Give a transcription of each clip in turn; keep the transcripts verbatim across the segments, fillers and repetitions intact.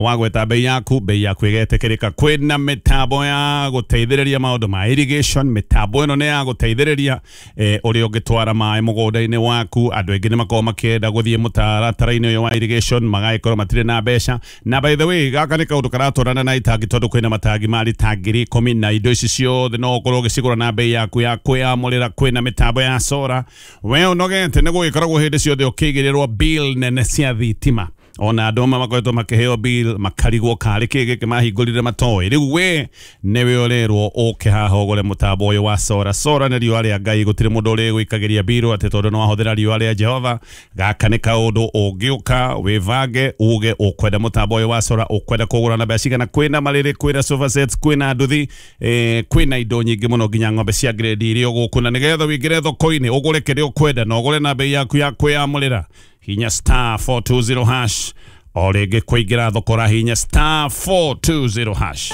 Wagweta bei yaku, bei yaku ĩgetĩkĩrĩka. Kwĩna mĩtambo ya gũteithĩrĩria maũndũ ma irrigation, mĩtambo ĩno nĩ ya gũteithĩrĩria eh, ũrĩa ũngĩtwara maĩ mũgũnda-inĩ waku. Andũ aingĩ nĩ makoragwo makĩenda gũthiĩ mũtaratara-inĩ ũyũ wa irrigation, magagĩkorwo matirĩ na mbeca. Na by the way, gaka nĩ kaũndũ karatwarana na itangi, tondũ kwĩna matangi ma rita ngiri ikũmi, na indo ici ciothe no ũkorwo ũgĩcigũra na bei yaku ya kwĩyamũrĩra. Kwĩna mĩtambo ya solar. We ũnogete nĩ gũgĩkoragwo hĩndĩ ciothe ũkĩigĩrĩrwo bill nene cia thitima, ona andũ amwe makoretwo makĩheo bill makarigwo karĩ kĩ gĩkĩ mahingũrire matoĩ. Rĩu we nĩwe ũrerwo ũke haha ũgũre mũtambo ũyũ wa solar. Solar nĩ riũa rĩa Ngai, gũtirĩ mũndũ ũrĩgũikagĩria bill atĩ tondũ nĩ wahũthĩra riũa rĩa Jehova. Gaka nĩ kaũndũ ũngĩũka wĩvange uge ũkwenda mũtambo ũyũ wa solar, ũkwenda kũgũra na mbeca cigana. Kwĩna marĩrĩ, kwĩna sofa sets, kwĩna nduthi, eh, kwĩna indo nyingĩ mũno, nginya ng'ombe cia grade iria gũkũ, na nĩgetha ũingĩre thoko-inĩ ũgũre kĩrĩa ũkwenda na ũgũre na bei yaku ya kwĩyamũrĩra. Hinya star four two zero hash o rĩngĩ kũingĩra thoko, hinya star four two zero hash.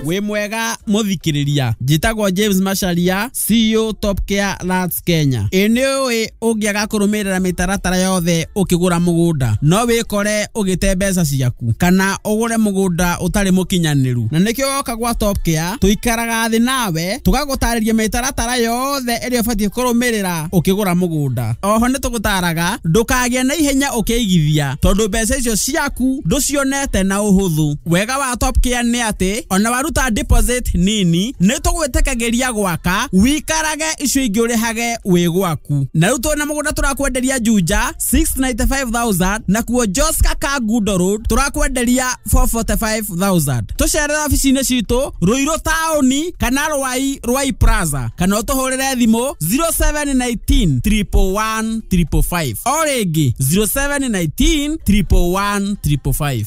Wĩ mwega mũthikĩrĩria, njĩtagwo James Macharia, C E O Top Care Lands Kenya. Ĩ nĩ ũĩ ũngĩaga kũrũmĩrĩra mĩtaratara yothe ũkĩgũra mũgũnda no wĩkore ũgĩte mbeca ciaku kana ũgũre mũgũnda ũtarĩ mũkinyanĩru, na nĩkĩo woka gwa Top Care tũikaraga thĩ nawe tũgagũtarĩria mĩtaratara yothe ĩrĩa ũbatiĩ kũrũmĩrĩra ũkĩgũra mũgũnda. Oho nĩ tũgũtaraga ndũkagĩe na ihenya ũkĩigithia, tondũ mbeca icio ciaku ndũcionete na ũhũthũ. Wega wa Top Care nĩ atĩ ona waruta deposit nini nĩ tũgwĩtĩkagĩria gwaka wikarage icio ingĩ ũrĩhage wĩ gwaku. Na rĩu twĩna mũgũnda tũrakwenderia Juja six ninety-five thousand, na kuo Joska Kangundo Road tũrakwenderia four forty-five thousand. Tũcerere obici-inĩ citũ Ruiru taũni kana Rwai Rwai Plaza, kana ũtũhũrĩre thimũ zero seven nineteen triple one triple five. O rĩngĩ zero seven nineteen triple one triple five.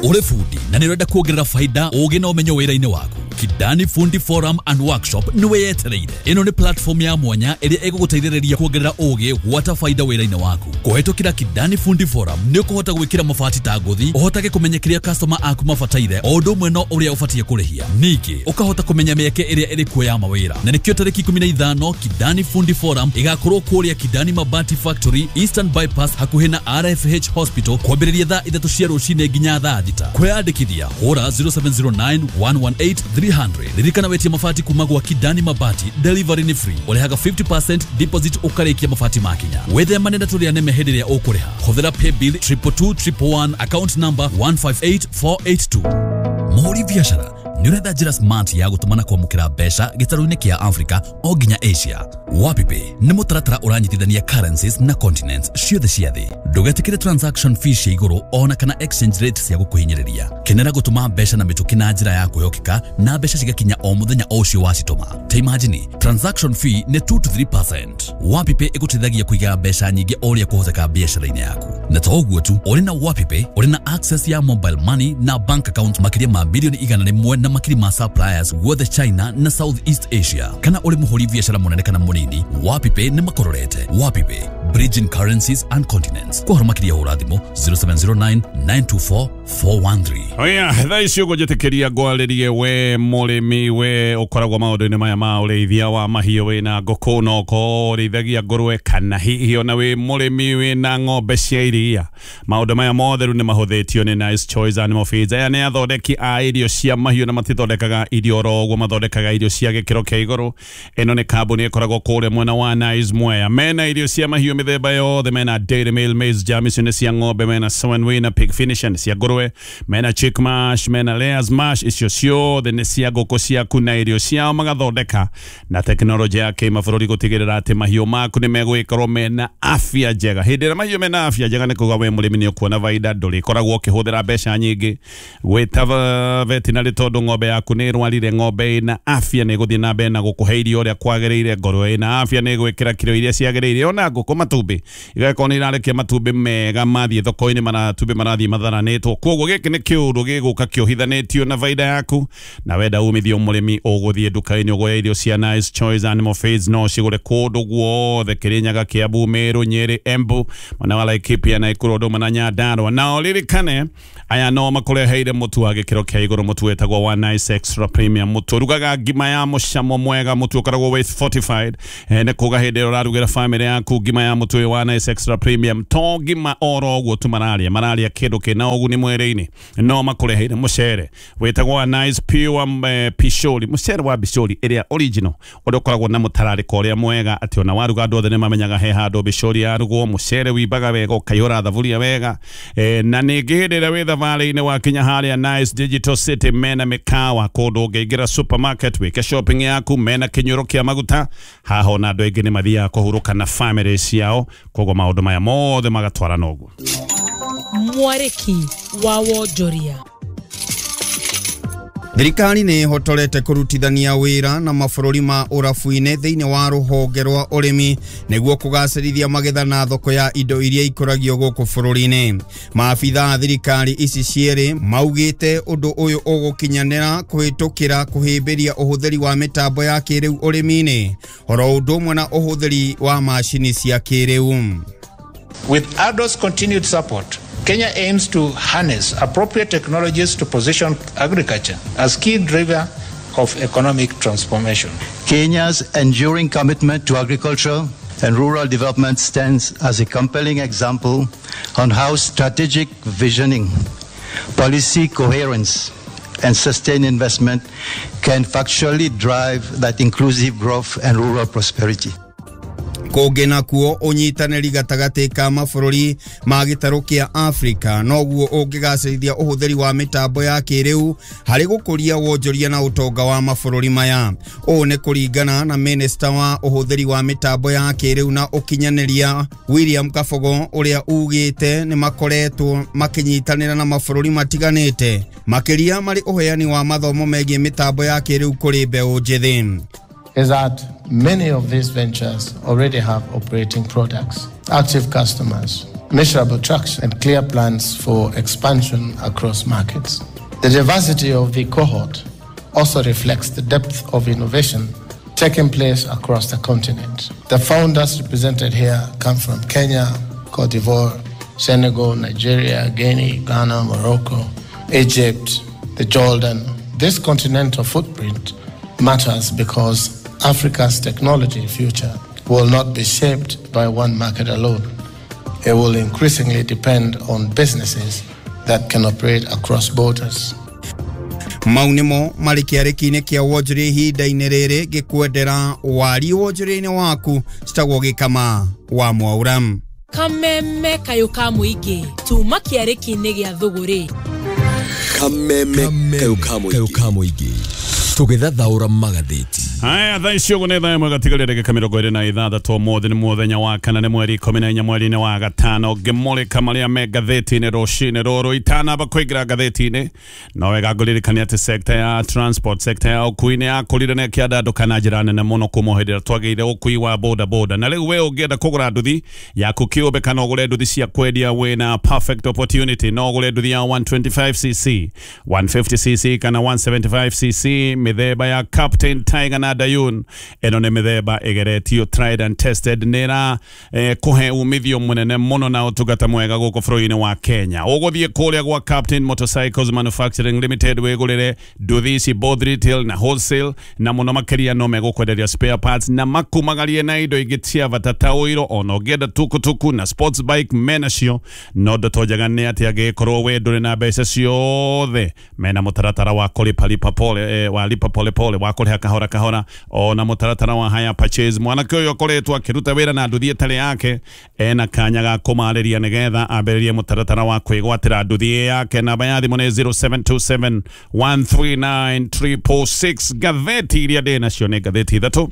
Ũrĩ bundi na nĩ ũrenda kuongerera faida ũgĩ na ũmenyo wĩra-inĩ waku, Kidani Fundi Forum and Workshop nĩwe yetereire. Ĩno nĩ platform ya mwanya ĩrĩa ĩgũgũteithĩrĩria kuongerera ũgĩ gwata faida wĩra-inĩ waku. Kũhetũkĩra Kidani Fundi Forum nĩ ũkũhota gwĩkĩra mabati ta ngũthi, ũhotage kũmenya kĩrĩa customer aku mabataire o ũndũ ũmwe no ũrĩa ũbatiĩ kũrĩhia. Ningĩ ũkahota kũmenya mĩeke ĩrĩa ĩrĩ kuo ya mawĩra. Na nĩkĩo tarĩki ikũmi na ithano Kidani Fundi Forum ĩgakorwo kũrĩa Kidani Mabati Factory, Eastern Bypass, hakuhĩ na R F H Hospital, kwambĩrĩria thaa ithatũ cia rũcinĩ nginya thaa thita. Kwĩyandĩkithia hũra zero seven zero nine one one eight three hundred. Ririkana wetie mabati kuma gwa Kidani Mabati, delivery ni free. Ũrĩhaga fifty percent deposit ũkarĩkia mabati makinya. Wĩthemane na tũrĩa neme hĩndĩ ĩrĩa ũkũrĩha. Hũthĩra paybill triple two triple one, account number one five eight four eight two. Mũhũri biacara nĩ ũretha njĩra smart ya gũtũma na kwamũkĩra mbeca gĩtarũ-inĩ kĩa Africa o nginya Asia. WapiPay nĩ mũtaratara ũranyitithania currencies na continents ciothe cia thĩ. Ndũgetĩkĩre transaction fee cia igũrũ ona kana exchange rate cia gũkũhinyĩrĩria. Kenera gũtũma mbeca na mĩtũkĩ na njĩra ya kwĩhokeka na mbeca cigakinya o mũthenya o ũcio wacitũma. Ta imagine, transaction fee nĩ two to three percent. WapiPay ĩgũteithagia kũiga mbeca nyingĩ o ũrĩa kũhoteka biacara-inĩ yaku. Na to ũguo tu, ũrĩ na WapiPay ũrĩ na access ya mobile money na bank account makĩria ma bilioni igana rĩmwe na makiri ma suppliers guothe China na Southeast Asia. Kana ũrĩ mũhũri biacara mũnene kana mũnini, WapiPay nĩ makororete. WapiPay, bridging currencies and continents. Kwa ũhoro makĩria hũra thimũ zero seven zero nine nine two four four one three. Oya, thaa ici ũgũnjĩtĩkĩria ngwarĩrie we mũrĩmi, we ũkoragwo maũndũ-inĩ maya ma ũrĩithia wa mahiũ, wĩna ngũkũ no ũkorwo ũrĩithagia ngũrwe, kana hihi ona wĩ mũrĩmi wĩna ng'ombe cia iria. Maũndũ maya mothe rĩu nĩ mahũthĩtio nĩ Nice Choice Animal Feeds. Aya nĩ athondeki a irio cia mahiũ na matithondekaga irio oro ũguo, mathondekaga irio cia gĩkĩro kĩa igũrũ. Ĩno nĩ kambuni ĩkoragwo kũrĩa mwena wa Nice Mwea. Mena irio cia mahiũ mĩthemba yothe, mena Dairy Meal Maize Jam, icio nĩ cia ng'ombe, mena Sowen Wina Pig Finish nĩ cia ngũrwe, mena Chick Mash, mena Layers Mash, icio ciothe nĩ cia ngũkũ ciaku, na irio ciao magathondeka na tekinoronjĩ ya kĩmabũrũri gũtigĩrĩra atĩ mahiũ maku nĩ megũgĩkorwo mena afya njega. Hĩndĩ ĩrĩa mahiũ mena afya njega nĩ kuga we mũrĩmi nĩ ũkuona baida, ndũrĩkoragwo ũkĩhũthĩra mbeca nyingĩ gwĩta veterinary tondũ ng'ombe yaku nĩ ĩrwarire. Ng'ombe ĩna afya nĩ ĩgũthiĩ na mbere na gũkũhe irio ũrĩa kwagĩrĩire, ngũrwe ĩna afya nĩ ĩgwĩkĩra kiro iria ciagĩrĩire, ona ngũkũ matumbĩ igakorwo nĩ irarekia matumbĩ mega mathiĩ thoko-inĩ, matumbĩ marathiĩ matharanĩtwo. Koguo gĩkĩ nĩ kĩũndũ gĩgũka kĩohithanĩtio na baida yaku, na wenda umithio mũrĩmi ũgũthiĩ nduka-inĩ ũgũre irio cia Nice Choice Animal Feeds, no cigũre kũndũ guothe, Kĩrĩnyaga, Kiambu, Meru, Nyĩrĩ, Embu, mwena wa Laikipia, Naikuru, Dodoma na Nyandarua. Na ũririkane aya no makũreheire mũtu wa gĩkĩro kĩa igũrũ, mũtu wĩtagwo wa Nice Extra Premium mũtu ũrugaga ngima ya mũcamo mwega, mũtu ũkoragwo wĩ fortified. eh, nĩ kuga hĩndĩ ĩrĩa ũrarugĩra family yaku ngima ya mũtu ũyũ wa Nice Extra Premium, to ngima oro ũguo tu mararia, mararia kĩndũ kĩna ũguni mwĩrĩ-inĩ. No makũreheire mũcere wĩtagwo Nice Pure eh, Pishori, mũcere wa bishori ĩrĩa original, ũrĩa ũkoragwo na mũtararĩko ũrĩa mwega atĩ ona waruga andũ othe nĩ mamenyaga he handũ bishori yarugwo. Mũcere wimbaga wega ũkaihũra thaburia wega. eh, na ningĩ hĩndĩ ĩrĩa wĩ thabarĩ-inĩ wakinya harĩa Nice Digital City, mena mĩkawa kũndũ ũngĩingĩra supermarket wĩke shopping yaku, mena kĩnyũrũ kĩa maguta haha ona andũ aingĩ nĩ mathiaga kũhurũka na family ciao, koguo maũndũ maya mothe magatwarana ũguo. Mwarĩki wa wonjoria. Thirikari nĩ ĩhotorete kũrutithania wĩra na mabũrũri ma ũrabu-inĩ thĩinĩ wa rũhonge rwa ũrĩmi nĩguo kũgacĩrithia magetha na thoko ya indo iria ikũragio gũkũ bũrũri-inĩ. Maabitha a thirikari ici cierĩ maugĩte ũndũ ũyũ ũgũkinyanĩra kũhĩtũkĩra kũhĩmbĩria ũhũthĩri wa mĩtambo ya kĩrĩu ũrĩmi-inĩ oro ũndũ ũmwe na ũhũthĩri wa macini cia kĩrĩu. With ADO's continued support, Kenya aims to harness appropriate technologies to position agriculture as key driver of economic transformation. Kenya's enduring commitment to agriculture and rural development stands as a compelling example on how strategic visioning, policy coherence, and sustained investment can factually drive that inclusive growth and rural prosperity. Kũngĩ nakuo ũnyitanĩri gatagatĩ ka mabũrũri ma gĩtarũ kĩa Afrika noguo ũngĩgacĩrithia ũhũthĩri wa mĩtambo ya kĩrĩu harĩ gũkũria wonjoria na ũtonga wa mabũrũri maya. Ũũ nĩ kũringana na minista wa ũhũthĩri wa mĩtambo ya kĩrĩu na ũkinyanĩria William Kabogo, ũrĩa ugĩte nĩ makoretwo makĩnyitanĩra na mabũrũri matiganĩte makĩria marĩ ũheani wa mathomo megiĩ mĩtambo ya kĩrĩu kũrĩ mbeũ njĩthĩ. Is that many of these ventures already have operating products, active customers, measurable traction, and clear plans for expansion across markets. The diversity of the cohort also reflects the depth of innovation taking place across the continent. The founders represented here come from Kenya, Cote d'Ivoire, Senegal, Nigeria, Guinea, Ghana, Morocco, Egypt, the Jordan. This continental footprint matters because Africa's technology future will not be shaped by one market alone. It will increasingly depend on businesses that can operate across borders. Mau nĩmo marĩ kĩarĩki-inĩ kĩa wonjoria ihinda-inĩ rĩrĩ ngĩkwendera wari wonjoria-inĩ waku citagwo gĩkama wa Mwaura. Kameme kayũ ka mũingĩ tuma kĩarĩki-inĩ gĩa thũgũrĩ. Kameme kayũ ka mũingĩ tũgĩthathaũra magathĩti. Haya, thaa ici ũguo nĩ thaa ĩmwe gatigarĩte ndagĩka mĩrongo ĩrĩ na ithathatũ. Ũmũthĩ nĩ mũthenya wa kana, nĩ mweri ikũmi na inya mweri-inĩ wa gatano. Ngĩmũrĩka marĩa me ngathĩti-inĩ rũcinĩ rũrũ. Itanamba kũingĩra ngathĩti-inĩ, no wega ngũririkania atĩ sector ya transport, sector ya ũkui nĩ yakũrire na ĩkĩandandũka na njĩra nene mũno kuma hĩndĩ ĩrĩa twagĩire ũkui wa boda boda. Na rĩu we ũngĩenda kũgũra nduthi yaku kĩũmbe kana ũgũre nduthi cia kwendia, wĩna perfect opportunity. No ũgũre nduthi ya one twenty-five c c, one fifty c c kana one seventy-five c c, mĩthemba ya Captain, Tiger na Dayun. Ĩno nĩ mĩthemba ĩgeretio, tried and tested, nĩ ĩra eh, kũhe umithio mũnene mũno na ũtungata mwega gũkũ bũrũri-inĩ wa Kenya. Ũgũthiĩ kũrĩa gwa Captain Motorcycles Manufacturing Limited wĩgũrĩre nduthi ici both retail na wholesale, na mũno makĩria no megũkwenderia spare parts na makumagarie na indo ingĩ cia bata ta ũiro, ona ũngĩenda tukutuku na sports bike menacio. No ndeto njega nĩ atĩ angĩkorwo we ndũrĩ na mbeca ciothe, mena mũtaratara wa kũlipa lipa pole, eh, wa lipa pole pole, wa kũrĩha kahora kahora, ona mũtaratara wa hire purchase. Mwanake ũyũ akoretwo akĩruta wĩra na nduthi ĩtarĩ yake, ena kanya ga kũmarĩria nĩgetha ambĩrĩrie mũtaratara wa kwĩgwatĩra nduthi yake. Namba ya thimũ nĩ zero seven two seven one three nine triple six. Ngathĩti iria ndĩ nacio nĩ ngathĩti ithatũ.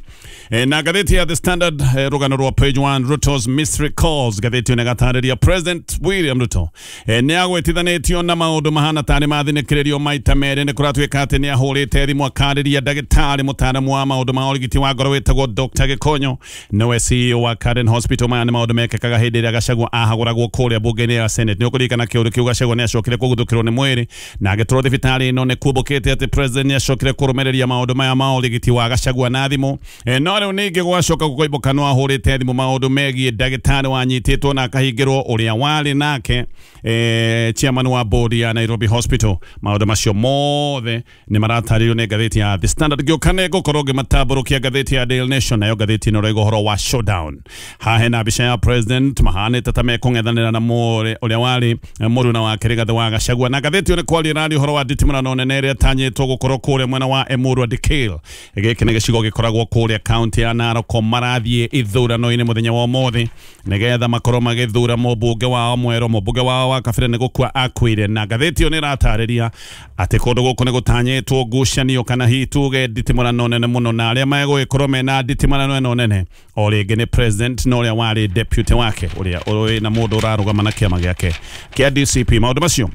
E, na ngathĩti ya The Standard, eh, rũgano rwa page one, Ruto's mystery calls. Ngathĩti ĩyo nĩgatarĩria President William Ruto e, nĩ agwetithanĩtio na maũndũ mahana tarĩ mathinĩkĩrĩrio maita merĩ. Nĩ kũratuĩka atĩ nĩ ahũrĩte thimũ akarĩria ndagĩtarĩ mũtaaramu wa wa maũndũ ma ũrigiti wa ngoro wĩtagwo Doctor Gĩkonyo, nĩwe C E O wa Karen Hospital. Maya nĩ maũndũ mekĩkaga hĩndĩ ĩrĩa Gachagua ahagũragwo kũrĩa bunge-inĩ ya Senate. Nĩ ũkũririkana kĩũndũ kĩu Gachagua nĩ acokire kũguthũkĩrwo nĩ mwĩrĩ na agĩtwarwo thibitarĩ ĩno. Nĩ kumbũkĩte atĩ president nĩ acokire kũrũmĩrĩria maũndũ maya ma ũrigiti wa Gachagua na thimũ. E, no rĩu ningĩ gwacoka gũkoimbũka no ahũrĩte thimũ maũndũ megiĩ ndagĩtarĩ wanyitĩtwo na akahingĩrwo ũrĩa warĩ nake e, chairman wa board ya Nairobi Hospital. Maũndũ macio mothe nĩ maratarĩrio nĩ ngathĩti ya The Standard. Ngĩũka nĩ ngũkorwo ngĩmatambũrũkia ngathĩti ya Daily Nation, nayo ngathĩti ĩno ĩroiga ũhoro wa showdown. Haha hena mbica ya president mahanĩte ta mekũng'ethanĩra na mũrĩ ũrĩa warĩ mũruna wake Rigathĩ wa Gachagua. Na ngathĩti ĩyo nĩ kwaria ĩraria ũhoro wa nditimũrano nene ĩrĩa ĩtanyĩtwo gũkorwo kũrĩa mwena wa Emurua Dikirr. Gĩkĩ nĩ gĩcigo gĩkoragwo kũrĩa kaunti ya Narok. Marathiĩ ithurano-inĩ mũthenya wa ũmũthĩ nĩgetha makorwo magĩthura mũmbunge wao mwerũ. Mũmbunge wao wa kabere nĩ gũkua akuire, na ngathĩti ĩyo nĩ ĩratarĩria atĩ kũndũ gũkũ nĩ gũtanyĩtwo ngucanio kana hihi tuge nditimũrano nene mũno, na arĩa megũgĩkorwo mena nditimũrano ĩno nene o rĩngĩ nĩ president na ũrĩa warĩ deputy wake ũrĩa ũrĩ na mũndũ ũrarũgama na kĩama gĩake kĩa D C P. Maũndũ macio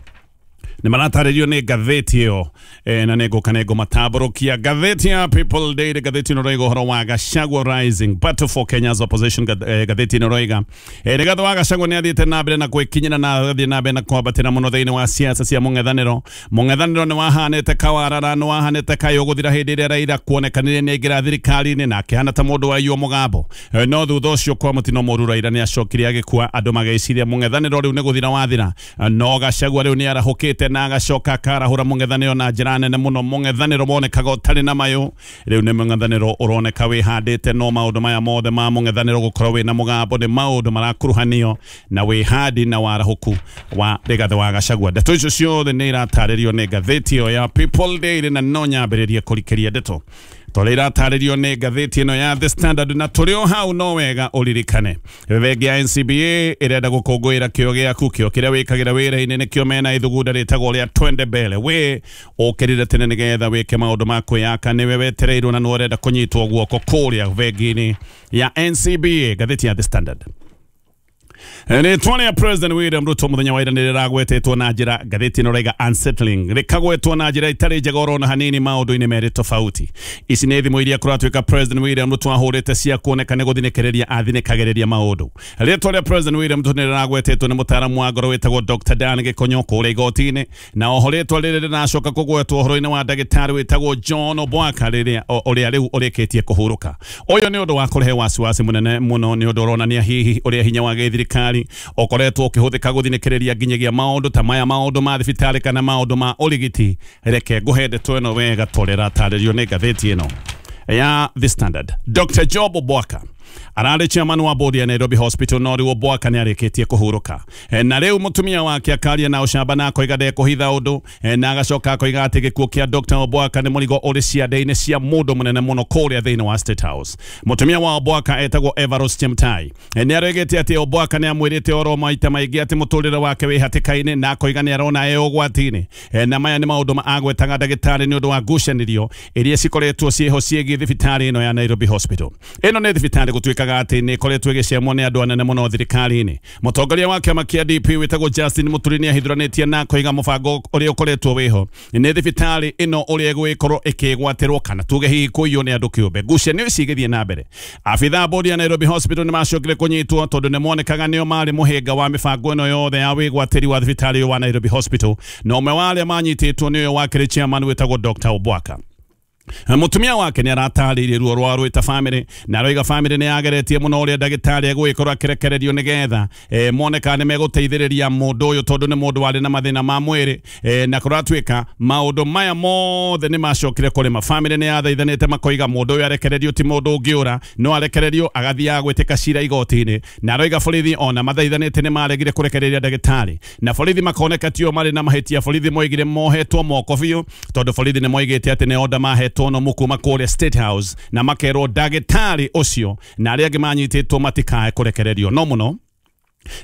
nĩ maratarĩrio nĩ ngathĩti ĩyo, e, na nĩ ngũka nĩ ngũmatambũrũkia. Ngathĩti ya People Daily, ngathĩti ĩno ĩroiga ũhoro wa Gachagua Rising Battle for Kenya's Opposition. Ngathĩti ĩno ĩroiga e, Rigathĩ wa Gachagua nĩ athiĩte na mbere na gwĩkinyĩra na agathiĩ na mbere na kwambatĩra mũno thĩinĩ wa siasa cia mũng'ethanĩro. Mũng'ethanĩro nĩ wahanĩte kawarara, nĩ wahanĩte kayũ gũthira hĩndĩ ĩrĩa Raila kuonekanire nĩ aingĩra thirikari-inĩ na akĩhana ta mũndũ waiywo mũgambo. E, no thutha ũcio kwa mũtino mũru Raila nĩ acokire agĩkua, andũ magĩciria mũng'ethanĩro rĩu nĩ gũthira wathira. No Gachagua rĩu nĩ arahũkĩte na agacoka akarahũra mũng'ethanĩro na njĩra nene mũno. Mũng'ethanĩro wonekaga ũtarĩ na mayũ, rĩu nĩ mũng'ethanĩro ũroneka wĩhandĩte. No maũndũ maya mothe ma mũng'ethanĩro gũkorwo wĩna mũgambo nĩ maũndũ marakuruhanio na wĩhandi na warahũku wa Rigathĩ wa Gachagua. Ndeto icio ciothe nĩ iratarĩrio nĩ ngathĩti ĩyo ya People Daily, na no nyambĩrĩrie kũrikĩria ndeto tondũ iratarĩrio nĩ ngathĩti ĩno ya The Standard. Na tũrĩ o hau no wega ũririkane bengi ya N C B A ĩrenda gũkũngũĩra kĩo gĩaku, kĩo kĩrĩa wĩkagĩra wĩra-inĩ nĩkĩo mena ithugunda rĩtagwo rĩa Twende Mbele. We ũkĩrire tene nĩgetha wĩke maũndũ ma kwĩyaka, nĩwe wetereirwo na nĩ ũrenda kũnyitwo guoko kũrĩa bengi-inĩ ya N C B A. Ngathĩti ya The Standard. Rĩtwa rĩa President William Ruto mũthenya wa ira nĩ rĩragwetetwo na njĩra, ngathĩti ĩno ĩrauga unsettling, rĩkagwetwo na njĩra ĩtarĩ njega orona hanini maũndũ-inĩ merĩ tofauti. Ici nĩ thimũ iria kũratuĩka President William Ruto ahũrĩte cia kuoneka nĩ gũthinĩkĩrĩria athinĩkagĩrĩria maũndũ. Rĩtwa rĩa President William Ruto nĩ rĩragwetetwo nĩ mũtaaramu wa ngoro wĩtagwo Doctor Dan Gĩkonyo kũrĩa igoti-inĩ, na oho rĩtwa rĩrĩ rĩracoka kũgwetwo ũhoro-inĩ wa ndagĩtarĩ wĩtagwo John Obwaka rĩrĩa ũrĩa rĩu ũrĩkĩtie kũhurũka. Ũyũ nĩ ũndũ wa kũrehe wasiwasi mũnene mũno, nĩ ũndũ ũronania hihi ũrĩa hinya wa gĩthirikari ũkoretwo ũkĩhũthĩka gũthinĩkĩrĩria nginyagia maũndũ ta maya, maũndũ ma thibitarĩ kana maũndũ ma ũrigiti. Reke ngũhe ndeto ĩno wega tondũ ĩratarĩrio nĩ ngathĩti ĩno ya The Standard. Doctor Job Obwaka ararĩ chairman wa board ya Nairobi Hospital, no rĩu Obwaka nĩ arĩkĩtie kũhurũka. E, na rĩu mũtumia wake akaria na ũcamba na akoiga ndekũhitha ũndũ, e, na agacoka akoiga atĩ gĩkuũ kĩa Doctor Obwaka nĩ mũrigo ũrĩ ciande-inĩ cia mũndũ mũnene mũno kũrĩa thĩinĩ wa State House. Mũtumia wa Obwaka etagwo Everose Chemtai. E, nĩ aroigĩte atĩ Obwaka nĩ amwĩrĩte oro maita maingĩ atĩ mũtũrĩre wake wĩ hatĩka-inĩ, na akoiga nĩ arona e ũgwati-inĩ. E, na maya nĩ maũndũ ma agwetaga ndagĩtarĩ nĩ ũndũ wa ngucanĩrio iria cikoretwo ciĩho ciĩgiĩ thibitarĩ ĩno ya Nairobi Hospital. Ĩno nĩ thibitarĩ gũtuĩkaga atĩ nĩ ĩkoretwo ĩgĩcemwo nĩ andũ anene mũno thirikari-inĩ. Mũtongoria wa kĩama kĩa D P wĩtagwo Justin Muturi nĩ ahithũranĩtie na akoiga mũbango ũrĩa ũkoretwo wĩho nĩ thibitarĩ ĩno ũrĩa ĩgũgĩkorwo ĩkĩgwatĩrwo kana tuge hihi kũiywo nĩ andũ kĩũmbe. Ngucanio ici igĩthiĩ na mbere. Abithaa a bodi ya Nairobi Hospital nĩ macokire kũnyitwo tondũ nĩ monekaga nĩo marĩ mũhĩnga wa mĩbango ĩno yothe ya wĩgwatĩri wa thibitarĩ ũyũ wa Nairobi Hospital, na ũmwe wa arĩa manyitĩtwo nĩ ũyũ wakĩrĩ chairman wĩtagwo Doctor Obwaka. Mũtumia wake nĩ aratarĩirie ruo rwa rwĩta family, na aroiga family nĩ yageretie mũno ũrĩa ndagĩtarĩ egũgĩkorwo akĩrekererio nĩgetha e, moneka nĩ megũteithĩrĩria mũndũ ũyũ tondũ nĩ mũndũ warĩ na mathĩna ma mwĩrĩ, e, na kũratuĩka maũndũ maya mothe nĩ macokire kũrĩma. Family nĩ yathaithanĩte makoiga mũndũ ũyũ arekererio ti mũndũ ũngĩũra, no arekererio agathiaga gwĩtĩka cira igoti-inĩ, na aroiga borithi ona mathaithanĩte nĩ maregire kũrekereria ndagĩtarĩ, na borithi makoneka tio marĩ na mahĩtia. Borithi moigire mohetwo moko biũ tondũ borithi nĩ moigĩte atĩ nĩ order mahetwo tono mukuma kũrĩa State House na makerwo ndagĩtarĩ ũcio na arĩa angĩ manyitĩtwo matikae kũrekererio. No mũno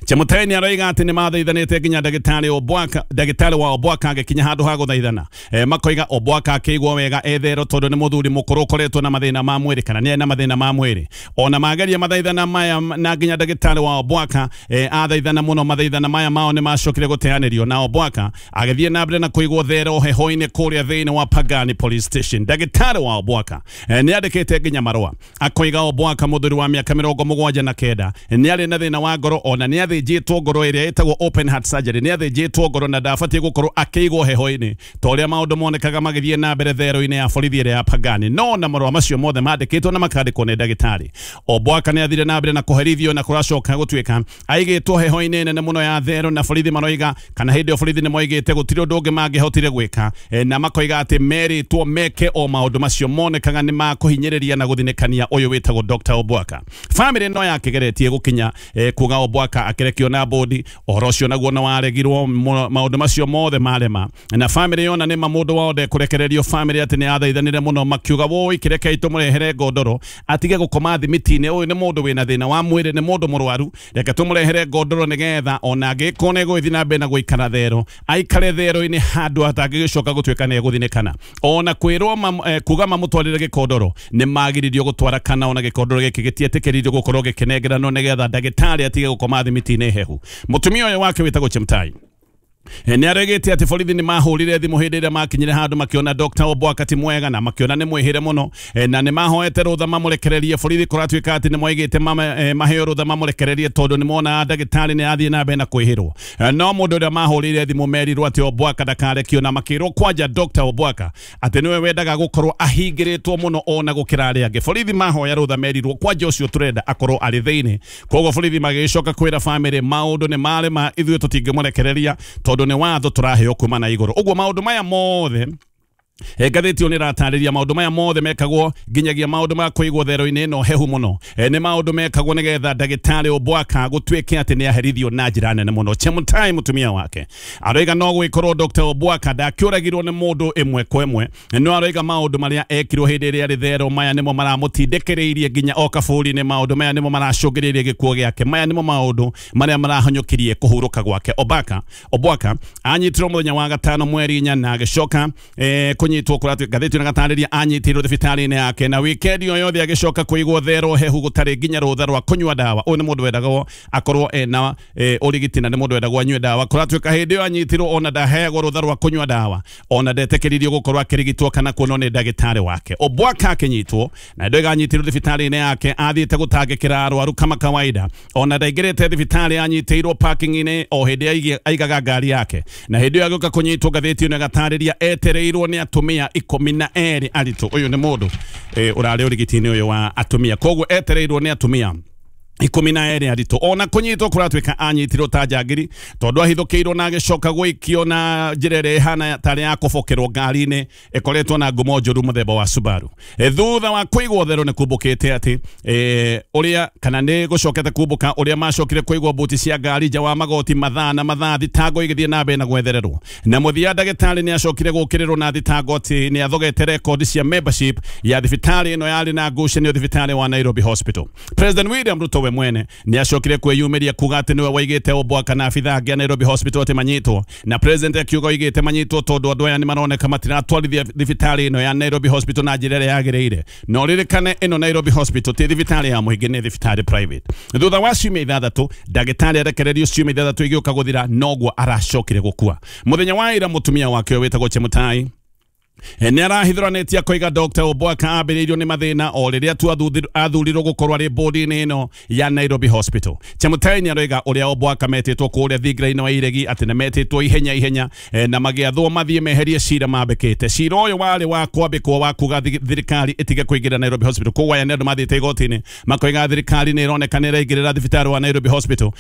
Chemutai nĩ aroiga atĩ nĩ mathaithanĩte nginya ndagĩtarĩ Obwaka ndagĩtarĩ wa Obwaka agĩkinya handũ ha gũthaithana. E, makoiga Obwaka akĩigua wega etherwo tondũ nĩ mũthuri mũkũrũ ũkoretwo na mathĩna ma mwĩrĩ kana nĩ na mathĩna ma mwĩrĩ. Ona mageria mathaithana maya na nginya ndagĩtarĩ wa Obwaka e, athaithana mũno mathaithana maya mao nĩ macokire gũteanĩrio na Obwaka agĩthiĩ na mbere na kũigwo thero heho-inĩ kũrĩa thĩinĩ wa Pagani Police Station. Ndagĩtarĩ wa Obwaka e, nĩ andĩkĩte nginya marũa akoiga Obwaka mũthuri wa mĩaka mĩrongo mũgwanja na kenda nĩ arĩ na thĩna wa ngoro ona nĩ athĩnjĩtwo ngoro ĩrĩa ĩtagwo open heart surgery nĩ athĩnjĩtwo ngoro na ndabatiĩ gũkorwo akĩigwo heho-inĩ ta ũrĩa maũndũ monekaga magĩthiĩ na mbere thero-inĩ ya borithi ĩrĩa ya Pagani. No na marũa macio mothe mandĩkĩtwo na makandĩkwo nĩ ndagĩtarĩ Obwaka nĩ athire na mbere na kũherithio na kũracoka gũtuĩka aigĩtwo heho-inĩ nene mũno ya thero na borithi maroiga kana hĩndĩ ĩyo borithi nĩ moigĩte gũtirĩ ũndũ ũngĩ mangĩhotire gwĩka e, na makoiga atĩ merĩtwo meke o maũndũ macio monekaga nĩ makũhinyĩrĩria na gũthinĩkania ũyũ wĩtagwo Doctor Obwaka. Famĩlĩ no yakĩgeretie gũkinya e, kuga Obwaka akĩrekio na bodi ũhoro ũcio naguo nĩ waregirwo maũndũ macio mothe marema na famĩlĩ yona nĩ mũndũ wao ndekũrekererio famĩlĩ atĩ nĩ athaithanire mũno makiuga woi kĩrekei tũmũrehere ngondoro atige gũkoma thimiti-inĩ ũyũ nĩ mũndũ wĩna thĩna wa mwĩrĩ nĩ mũndũ mũrwaru reke tũmũrehere ngondoro nĩgetha ona angĩkorwo nĩ egũgĩthiĩ na mbere na gũikara thero aikare thero-inĩ handũ atangĩgĩcoka gũtuĩka nĩ egũthinĩkana. Ona kwĩrwo eh, kuga mamũtwarĩre gĩkondoro nĩ magiririo gũtwara kana ona gĩkondoro gĩkĩ gĩtietĩkĩririo gũkorwo gĩkĩnengeranwo nĩgetha ndagĩtarĩ atige gũkoma thimiti-inĩ hehu. Mũtumia ũyũ wake wĩtagwo Chemutai nĩ aregete atĩ borithi nĩ mahũrire thimũ hĩndĩ ĩrĩa makinyire handũ makĩona Doctor Obwaka ti mwega na makĩona nĩ mwĩhĩre mũno na nĩ mahoete rũtha mamũrekererie borithi kũratuĩka atĩ nĩ moigĩte maheo rũtha mamũrekererie tondũ nĩ mona ndagĩtarĩ nĩ athiĩ na mbere na kwĩhĩrwo. No mũndũ ũrĩa mahũrire thimũ merirwo atĩ Obwaka ndakarekio na makĩrwo kwanja Doctor Obwaka atĩ nĩwe wendaga gũkorwo ahingĩrĩtwo mũno ona gũkĩra arĩa angĩ. Borithi mahoya rũtha merirwo kwanja ũcio tũrenda akorwo arĩ thĩinĩ. Koguo borithi magĩcoka kwĩra famĩlĩ maũndũ nĩ marema ithuĩ tũtingĩmũrekereria tondũ nĩ watho tũraheo kuma na igũrũ. Ũguo maũndũ maya mothe ngathĩti ĩyo nĩ ĩratarĩria maũndũ maya mothe mekagwo nginyagia maũndũ ma kũigwo thero-inĩ ĩno hehu mũno e, nĩ maũndũ mekagwo nĩgetha ndagĩtarĩ Obwaka gũtuĩke atĩ nĩ aherithio na njĩra nene mũno. Chemutai mũtumia wake aroiga no gwĩkorwo Doctor Obwaka ndakĩũragirwo nĩ mũndũ ĩmwe kwa ĩmwe no aroiga maũndũ marĩa ekirwo hĩndĩ ĩrĩa arĩ thero maya nĩmo maramũtindĩkĩrĩirie nginya o kaburi-inĩ maũndũ maya nĩmo maracũngĩrĩirie gĩkuũ gĩake maya nĩmo maũndũ marĩa marahonyũkirie kũhurũka gwake. Obaka Obwaka anyitirwo mũthenya wa gatano mweri inya na agĩcoka eh, kunyitwo kuratu ngathĩti na gatarĩria anyitirwo thibitarĩ-inĩ yake na wikendi o yothe agĩcoka kũigwo thero hehu gũtarĩ nginya rũtha rwa kũnyua ndawa. Ũyũ nĩ mũndũ wendagwo akorwo ena ũrigiti na nĩ mũndũ wendagwo anyue ndawa kũratuĩka hĩndĩ ĩyo anyitirwo ona ndaheagwo rũtha rwa kũnyua ndawa ona ndetĩkĩririo gũkorwo akĩrigitwo kana kuonwo nĩ ndagĩtarĩ wake. Obwaka akĩnyitwo na ndoiga anyitirwo thibitarĩ-inĩ yake athiĩte gũtangĩkĩra arwaru kama kawaida ona ndaingĩrĩte thibitarĩ anyitĩirwo parking-inĩ o hĩndĩ aigaga ngari yake na hĩndĩ ĩyo agĩũka kũnyitwo ngathĩti ĩno ĩgatarĩria etereirwo nĩ atumia ikũmi na erĩ aritũ. Ũyũ nĩ mũndũ ũrarĩ ũrigiti-inĩ ũyũ wa atumia koguo etereirwo nĩ atumia ikũmi na erĩ aritũ. Ona kũnyitwo kũratuĩka anyitirwo ta njangiri tondũ ahithũkĩirwo na agĩcoka gũikio na njĩra ĩrĩa ĩhana tarĩ ya kũbokerwo ngari-inĩ ĩkoretwo na ngumo njũru mũthemba wa Subaru. E, thutha wa kũigwo thero nĩ kumbũkĩte atĩ e, ũrĩa kana nĩ gũcokete kumbũka ũrĩa macokire kũigwo mbuti cia ngari nja wa magoti mathaa na mathaa thitango igĩthiĩ na mbere na gwethererwo na mũthia ndagĩtarĩ nĩ acokire gũkĩrĩrwo na thitango atĩ nĩ athogete rekondi cia membership ya thibitarĩ ĩno yarĩ na ngucanio thibitarĩ wa Nairobi Hospital. President William Ruto we mwene nĩ acokire kwĩyumĩria kuga atĩ nĩwe waigĩte Obwaka na abithaa angĩ a Nairobi Hospital atĩ manyitwo na president akiuga oigĩte manyitwo tondũ andũ aya nĩ maroneka matiratwarithia thibitarĩ ĩno ya Nairobi Hospital na njĩra ĩrĩa yagĩrĩire. No ririkane ĩno Nairobi Hospital ti thibitarĩ ya mũingĩ nĩ thibitarĩ private. Thutha wa ciumia ithathatũ ndagĩtarĩ arekererio ciumia ithathatũ igĩũka gũthira noguo aracokire gũkua. Mũthenya wa ira mũtumia wake wĩtagwo Chemutai nĩ arahithũranĩtie akoiga Doctor Obwaka ambĩrĩirio nĩ mathĩna o rĩrĩa tu athurirwo gũkorwo arĩ bodi-inĩ ĩno ya Nairobi Hospital. Chemutai nĩ aroiga ũrĩa Obwaka metĩtwo kũrĩa thingira-inĩ wa iregi atĩ nĩ metĩtwo ihenya ihenya na magĩathwo mathiĩ meherie cira mambĩkĩte. Cira ũyũ warĩ wa kwambĩkwo wa kuga thirikari ĩtige kũingĩra Nairobi Hospital. Koguo aya nĩ andũ mathiĩte igoti-inĩ makoiga thirikari nĩ ĩroneka nĩ ĩraingĩrĩra thibitarĩ wa Nairobi Hospital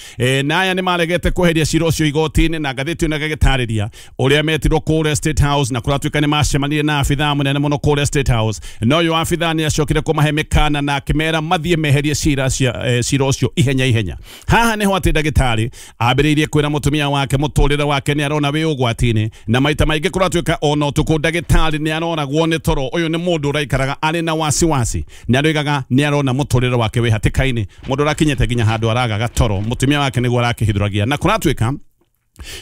na aya nĩ maregete kweheria cira ũcio igoti-inĩ na ngathĩti ĩno ĩgagĩtarĩria ũrĩa metirwo kũrĩa State House na kũratuĩka nĩ macemania macemanirie na abithaa mũnene mũno kũrĩa State House, na ũyũ abithaa nĩ acokire kũmahe mĩkana na akĩmera mathiĩ meherie cira cia cira ũcio ihenya ihenya. Haha nĩho atĩ ndagĩtarĩ ambĩrĩirie kwĩra mũtumia wake mũtũrĩre wake nĩ arona wĩ ũgwati-inĩ, na maita maingĩ kũratuĩka ona ũtukũ ndagĩtarĩ nĩ aroragwo nĩ toro. Ũyũ nĩ mũndũ ũraikaraga arĩ na wasiwasi, nĩ aroigaga nĩ arona mũtũrĩre wake wĩ hatĩka-inĩ, mũndũ ũrakinyĩte nginya handũ aragaga toro, mũtumia wake nĩguo arakĩhithũragia. Na kũratuĩka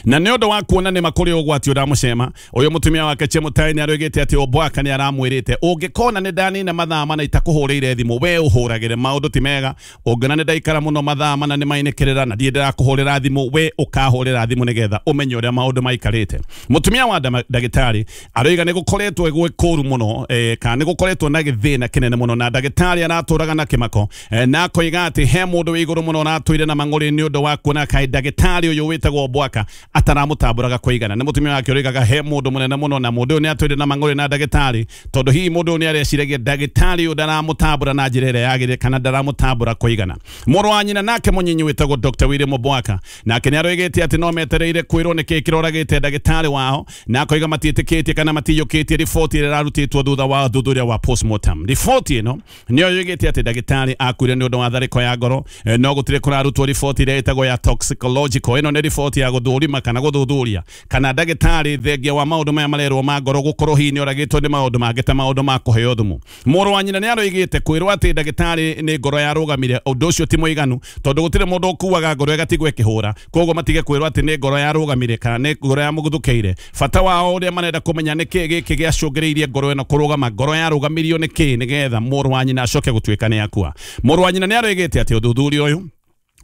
na nĩ ũndũ wa kuona nĩ makũrĩ ũgwati ũramũcema, ũyũ mũtumia wake Chemutai nĩ aroigĩte atĩ Obwaka nĩ aramwĩrĩte ũngĩkona nĩ ndanina mathaa mana itakũhũrĩire thimũ we ũhũragĩre, maũndũ ti mega, ũngĩona nĩ ndaikara mũno mathaa mana nĩ mainĩkĩrĩra na ndiĩ ndĩrakũhũrĩra thimũ, we ũkahũrĩra thimũ nĩgetha ũmenye ũrĩa maũndũ maikarĩte. Mũtumia wa ndagĩtarĩ aroiga nĩ gũkoretwo gwĩ kũru mũno, eh, kana nĩ gũkoretwo na gĩthĩna kĩnene mũno, na ndagĩtarĩ aratũraga na kĩmako, eh, na akoiga atĩ he mũndũ wĩ igũrũ mũno aratũire na mang'ũrĩ nĩ ũndũ wa kuona kaĩ ndagĩtarĩ ũyũ wĩtagwo Obwaka ataramutamburaga kuigana. Nĩ mũtumia wake ũroigaga he mũndũ mũnene mũno na mũndũ ũyũ nĩ atũire na mang'ũrĩ na ndagĩtarĩ, tondũ hihi mũndũ ũyũ nĩ areciragia ndagĩtarĩ ũyũ ndaramũtambũra na njĩra ĩrĩa yagĩrĩire kana ndaramũtambũra kũigana. Mũrũ wa nyina nake mũnyinyi wĩtagwo Doctor William Obwaka nake nĩ aroigĩte atĩ no metereire kwĩrwo nĩkĩĩ kĩroragĩte ndagĩtarĩ wao, na akoiga matiĩtĩkĩtie kana matiyũkĩtie riboti ĩrĩa ĩrarutĩtwo thutha wa ũthuthuria wa postmortem. Riboti ĩno nĩyo yoigĩte atĩ ndagĩtarĩ akuire nĩ ũndũ wa tharĩko ya ngoro, no gũtirĩ kũrarutwo riboti ĩrĩa ĩtagwo ya toxicological. Ĩno nĩ riboti ya gũthũrima kana gũthuthuria kana ndagĩtarĩ thengia wa maũndũ maya marerwo ma ngoro gũkorwo hihi nĩ oragĩtwo nĩ maũndũ mangĩ ta maũndũ ma kũheo thumu. Mũrũ wa nyina nĩ aroigĩte kwĩrwo atĩ ndagĩtarĩ nĩ ngoro yarũgamire, ũndũ ũcio ti mũiganu tondũ gũtirĩ mũndũ ũkuaga ngoro ĩgatigwo ĩkĩhũra, koguo matige kwĩrwo atĩ nĩ ngoro yarũgamire kana nĩ ngoro yamũguthũkĩire. Bata wao ũrĩa marenda kũmenya nĩ kĩĩ gĩkĩ gĩacũngĩrĩirie ngoro ĩno kũrũgama, ngoro yarũgamirio nĩ kĩĩ nĩgetha mũrũ wa nyina acoke gũtuĩka nĩ akua. Mũrũ wa nyina nĩ aroigĩte atĩ ũthuthuria ũyũ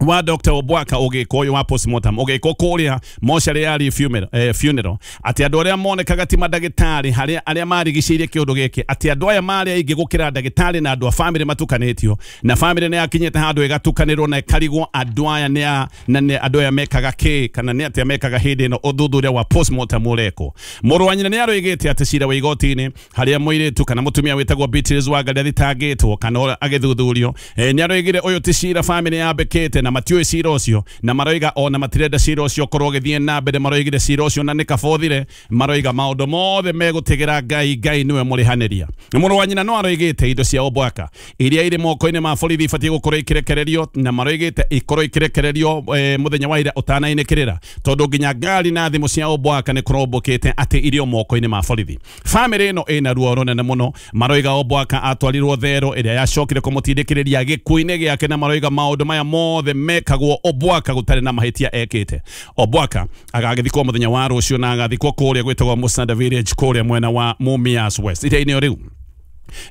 wa Doctor Obwaka ũgĩkwo ũyũ wa postmortem ũgĩkwo kũrĩa mocarĩ ya funeral, eh, funeral atĩ andũ arĩa monekaga ti mandagĩtarĩ harĩa arĩa marigicĩirie kĩũndũ gĩkĩ, atĩ andũ aya marĩ aingĩ gũkĩra ndagĩtarĩ na andũ a famĩlĩ matukanĩtio, na famĩlĩ nĩ yakinyĩte handũ ĩgatukanĩrwo na ĩkarigwo andũ aya nĩ na nĩ andũ aya mekaga kĩ kana nĩ atĩa mekaga hĩndĩ ĩno ũthuthuria wa postmortem ũrekwo. Mũrũ wa nyina nĩ aroigĩte atĩ cira wa igoti-inĩ harĩa mũirĩtu kana mũtumia wĩtagwo Beatrice Wangari athitangĩtwo kana agĩthuthurio, eh, nĩ aroigire ũyũ ti cira famĩlĩ yambĩkĩte na matiũĩ cira ũcio, na maroiga ona matirenda cira ũcio ũkorwo ũgĩthiĩ na mbere, maroigire cira ũcio na nĩ kabothire, maroiga maũndũ mothe megũtigĩra Ngai, Ngai nĩwe mũrĩhanĩria. Mũrũ wa nyina no aroigĩte indo cia Obwaka iria irĩ moko-inĩ ma borithi ibatiĩ gũkorwo ikĩrekererio, na maroigĩte ikorwo ikĩrekererio eh, mũthenya wa ira ũtanainĩkĩrĩra, tondũ nginya ngari na thimũ cia Obwaka nĩ kũrombũkĩte atĩ irio moko-inĩ ma borithi. Famĩlĩ ĩno ĩna ruo rũnene mũno, maroiga Obwaka atwarirwo thero ĩrĩa yacokire kũmũtindĩkĩrĩria gĩkuũ-inĩ gĩake, na maroiga maũndũ maya mothe mekagwo Obwaka gũtarĩ na mahĩtia ekĩte. Obwaka agagĩthikwo mũthenya wa rũciũ na agathikwo kũrĩa gwĩtagwo Musanda Village kũrĩa mwena wa Mumias West. Ita-inĩ o rĩu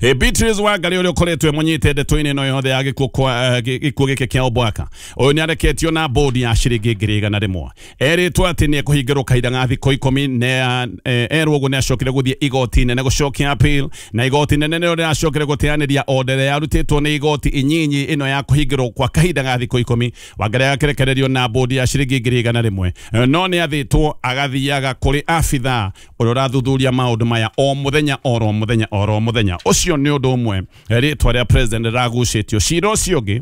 E Beatrice Wangari ũrĩa ũkoretwo mũnyite ndeto-inĩ ĩno yothe ya gĩkuũ kwa gĩkuũ gĩkĩ kĩa Obwaka, ũyũ nĩ areketio na bodi ya ciringi ngiri igana rĩmwe, erĩtwo atĩ nĩ ekũhingĩrwo kahinda ga thikũ ikũmi, na erwo ũguo nĩ acokire gũthiĩ igoti inene gũcokia appeal, na igoti inene nĩrĩo rĩracokire gũteanĩria order yarutĩtwo nĩ igoti inyinyi ĩno ya kũhingĩrwo kwa kahinda ga thikũ ikũmi. Wangari agakĩrekererio na bodi ya ciringi ngiri igana rĩmwe, no nĩ athĩtwo agathiaga kũrĩ abithaa ũrĩa ũrathuthuria maũndũ maya o mũthenya oro mũthenya oro mũthenya. Ũcio nĩ ũndũ ũmwe rĩtwa rĩa president rĩragucĩtio. Cira ũcio ũngĩ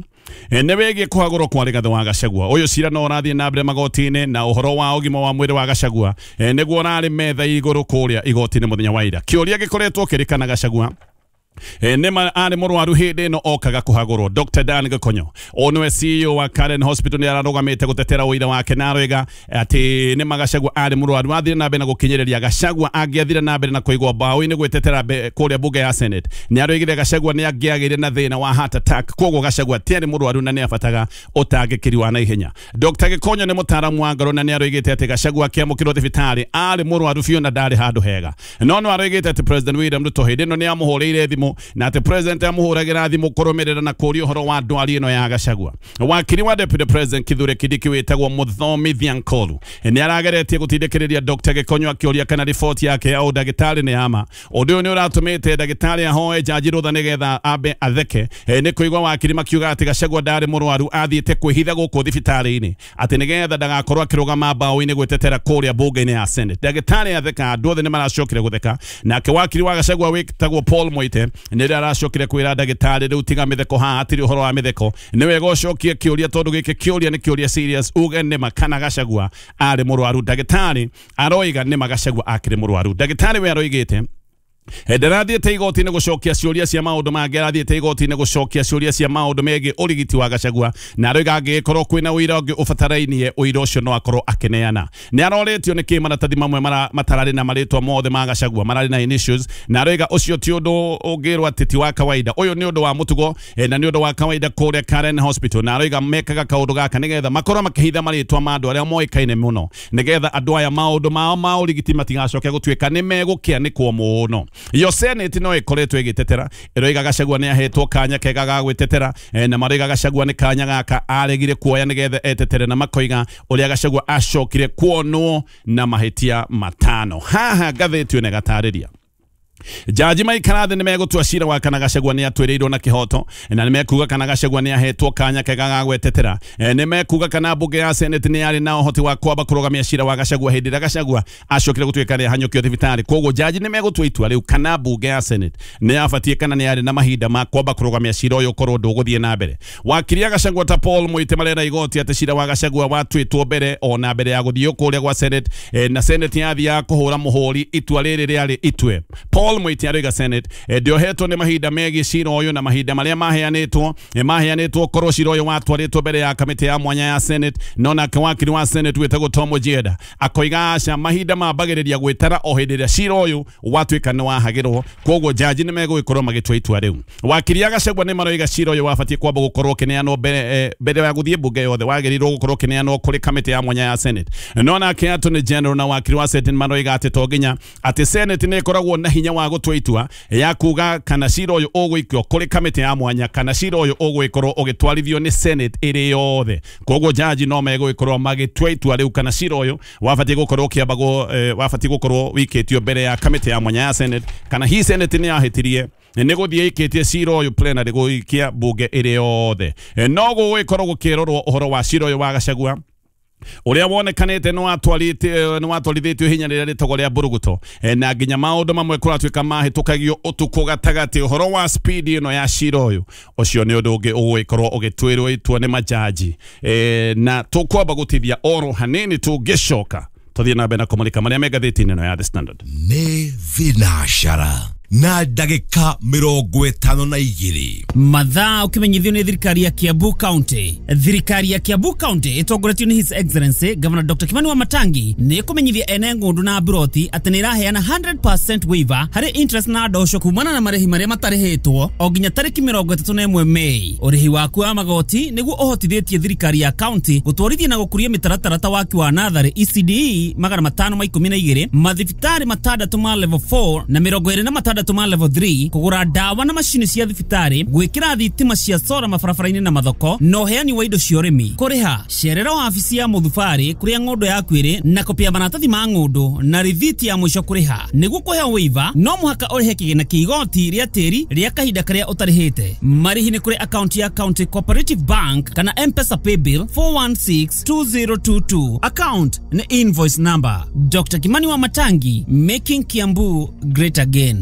nĩ wĩgiĩ kũhagũrwo kwa Rigathĩ wa Gachagua. Ũyũ cira no ũrathiĩ na mbere magoti-inĩ, na ũhoro wa ũgima wa mwĩrĩ wa Gachagua nĩguo ũrarĩ metha igũrũ kũrĩa igoti-inĩ mũthenya wa ira. Kĩũria gĩkoretwo kĩrĩ kana Gachagua nĩ arĩ mũrwaru hĩndĩ ĩno okaga kũhagũrwo. Doctor Dan Gĩkonyo ũyũ nĩwe C E O wa Karen Hospital nĩ ararũgamĩte gũtetera ũira wake, na aroiga atĩ nĩ Gachagua arĩ mũrwaru athire na mbere na gũkinyĩrĩria. Gachagua angĩathire na mbere na kũigwo mbaũ-inĩ gwĩtetera kũrĩa bunge ya Senate, nĩ aroigire Gachagua nĩ angĩagĩire na thĩna wa heart attack, koguo Gachagua tiarĩ mũrwaru na nĩ abataga ũtangĩkĩri wa naihenya. Doctor Gĩkonyo nĩ mũtaaramu wa ngoro na nĩ aroigĩte atĩ Gachagua akĩamũkĩrwo thibitarĩ arĩ mũrwaru biũ na ndarĩ handũ hega, no no aroigĩte atĩ President William Ruto hĩndĩ ĩno nĩ amũhũrĩire thimũ, na atĩ president amũhũragĩra thimũ kũrũmĩrĩra na kũũria ũhoro wa ndwari ĩno ya Gachagua. Wakiri wa Deputy President Kithure Kindiki wĩtagwo Mũthomithia Nkolu nĩ arageretie gũtindĩkĩrĩria Doctor Gĩkonyo akĩũria kana riboti yake ya ũndagĩtarĩ nĩ ya ma. Ũndũ ũyũ nĩ ũratũmĩte ndagĩtarĩ ahoe jaji rũtha nĩgetha ambe atheke, nĩ kũigua wakiri makiuga atĩ Gachagua ndarĩ mũrwaru, athiĩte kwĩhitha gũkũ thibitarĩ-inĩ atĩ nĩgetha ndagakorwo akĩrũgama mbaũ-inĩ gwĩtetera kũrĩa bunge-inĩ ya Senate. Ndagĩtarĩ atheka, andũ othe nĩ maracokire gũtheka. Nake wakiri wa Gachagua wĩtagwo Paul Moite nĩ aracokire kwĩra ndagĩtarĩ rĩu tiga mĩtheko haha, hatirĩ ũhoro wa mĩtheko, nĩ wega ũcokie kĩũria tondũ gĩkĩ kĩũria nĩ kĩũria serious, uge nĩma kana Gachagua arĩ mũrwaru. Ndagĩtarĩ aroiga nĩma Gachagua akĩrĩ mũrwaru. Ndagĩtarĩ we aroigĩte Ndarathiĩte igoti-inĩ gũcokia ciũria cia maũndũ mangĩ, arathiĩte igoti-inĩ gũcokia ciũria cia maũndũ megiĩ ũrigiti wa Gachagua, na aroiga angĩgĩkorwo kwĩna ũira ũngĩ ũbatarainie ũira ũcio no akorwo akĩneana. Nĩ arorĩtio nĩkĩ maratathi mamwe matararĩ na marĩtwa mothe ma Gachagua mararĩ na initials, na aroiga ũcio ti ũndũ ũngĩrwo atĩ ti wa kawaida, ũyũ nĩ ũndũ wa mũtugo na nĩ ũndũ wa kawaida kũrĩa Karen Hospital, na aroiga mekaga kaũndũ gaka nĩgetha makorwo makĩhitha marĩtwa ma andũ arĩa moĩkaine mũno, nĩgetha andũ aya maũndũ mao ma ũrigiti matigacoke gũtuĩka nĩ megũkĩanĩkwo mũno. Yo Senate no ĩkoretwo ĩgĩtetera, ĩroiga Gachagua nĩ ahetwo kanya kega ga gwĩtetera, na maroiga Gachagua nĩ kanya gaka aregire kuoya nĩgetha etetere, na makoiga ũrĩa Gachagua acokire kuonwo na mahĩtia matano. Haha ngathĩti ĩno ĩgatarĩria Jaji maikara thĩ nĩ megũtua cira wa kana Gachagua nĩ atwĩrĩirwo na kĩhoto, na nĩ mekuga kana Gachagua nĩ ahetwo kanya kega ga gwetetera, nĩ mekuga kana mbunge ya Senate nĩ yarĩ na ũhoti wa kwamba kũrũgamia cira wa Gachagua hĩndĩ ĩrĩa Gachagua acokire gũtuĩka nĩ ahanyũkio thibitarĩ. Koguo jaji nĩ megũtua itua rĩu kana mbunge ya Senate nĩ yabatiĩ kana nĩ yarĩ na mahinda ma kwamba kũrũgamia cira ũyũ ũkorwo ndũgũthiĩ na mbere. Wakiri a Gachagua ta Paul Muite marera igoti atĩ cira wa Gachagua watuĩtwo mbere ona mbere ya gũthiĩ kũrĩa gwa Senate, na Senate yathiaga kũhũra mũhũri itua rĩrĩ rĩarĩ itue. Paul Muite aroiga Senate ndiohetwo nĩ mahinda megiĩ cira ũyũ na mahinda marĩa maheanĩtwo maheanĩtwo korwo cira ũyũ watwarĩtwo mbere ya kamĩtĩ ya mwanya ya Senate. No nake wakiri wa Senate wĩtagwo Tom Ojienda akoiga aca, mahinda mambagĩrĩria gwĩtara o hĩndĩ ĩrĩa cira ũyũ watuĩka nĩ wahagĩrwo, koguo jaji nĩ megũgĩkorwo magĩtua itua rĩu. Wakiri a Gachagua nĩ maroiga cira ũyũ wabatiĩ kwamba gũkorwo ũkĩneanwo mbere mbere ya gũthiĩ mbunge yothe, wagĩrĩirwo gũkorwo ũkĩneanwo kũrĩ kamĩtĩ ya mwanya ya Senate. No nake Attorney General na wakiri wa Senate maroiga atĩ to nginya atĩ Senate nĩ ĩkoragwo na hinya wa gũtua itua ya kuga kana cira ũyũ ũgũikio kũrĩ kamĩtĩ ya mwanya kana cira ũyũ ũgũgĩkorwo ũgĩtwarithio nĩ Senate ĩrĩ yothe. Koguo jaji no megũgĩkorwo magĩtua itua rĩu kana cira ũyũ wabatiĩ gũkorwo ũkĩambagwo, wabatiĩ gũkorwo wĩikĩtio mbere ya kamĩtĩ ya mwanya ya Senate, kana hi Senate nĩ yahĩtirie nĩ gũthiĩ ĩikĩtie cira ũyũ plenary gũikia mbunge ĩrĩ yothe. No gũgĩkorwo gũkĩrorwo ũhoro wa cira ũyũ wa Gachagua uria wonekanite no atwarite no atwarithitio hinya rĩrĩa rĩtagwo rĩa mburuguto, na nginya maũndũ mamwe kũratuĩka mahĩtũkagio ũtukũ gatagatĩ. Ũhoro wa speed ĩno ya cira ũyũ ũcio nĩ ũndũ ũngĩ ũgũgĩkorwo ũgĩtuĩrwo itua nĩ majaji, na tũkwamba gũtithia oro hanini tũngĩcoka tũthiĩ na mbere na kũmũrĩka marĩa me ngathĩti-inĩ ĩno ya The Standard. Nĩ thinacara na ndagĩka mĩrongo ĩtano na igĩrĩ mathaa ũkĩmenyithio nĩ thirikari ya Kiambu County. Thirikari ya Kiambu County ĩtongoretio nĩ His Excellency Governor Doctor Kimani Wamatangi nĩ ĩkũmenyithia ene ng'ũndũ na mburoti atĩ nĩ ĩraheana one hundred percent waiver harĩ interest na ndosho kumana na marĩhi marĩa matarĩhĩtwo o nginya tarĩki mĩrongo ĩtatũ na ĩmwe Mei. Ũrĩhi waku wa magoti nĩguo ũhotithĩtie thirikari ya county gũtwarithia na gũkũria mĩtaratara ta waki wa natharĩ E C D E magana matano ma ikũmi na igĩrĩ, mathibitarĩ matandatũ ma level four na mĩrongo ĩrĩ na matandatũ ma level three, kũgũra ndawa na macini cia thibitarĩ, gwĩkĩra thitima cia sora mabarabara-inĩ na mathoko, na ũheani wa indo cia ũrĩmi. Kũrĩha cerera wabici ya mũthubarĩ kũrĩa ng'ũndũ yaku ĩrĩ na kopia maratathi ma ng'ũndũ na rithiti ya mũico kũrĩha. Nĩguo kũheo waiver no mũhaka ũrĩhe kĩgĩna kĩa igoti rĩa tĩri rĩa kahinda karĩa ũtarĩhĩte. Marĩhi nĩ kũrĩ akaunti ya County Cooperative Bank kana M-Pesa Paybill four one six two zero two two. Account nĩ invoice number. Doctor Kimani Wamatangi, making Kiambu great again.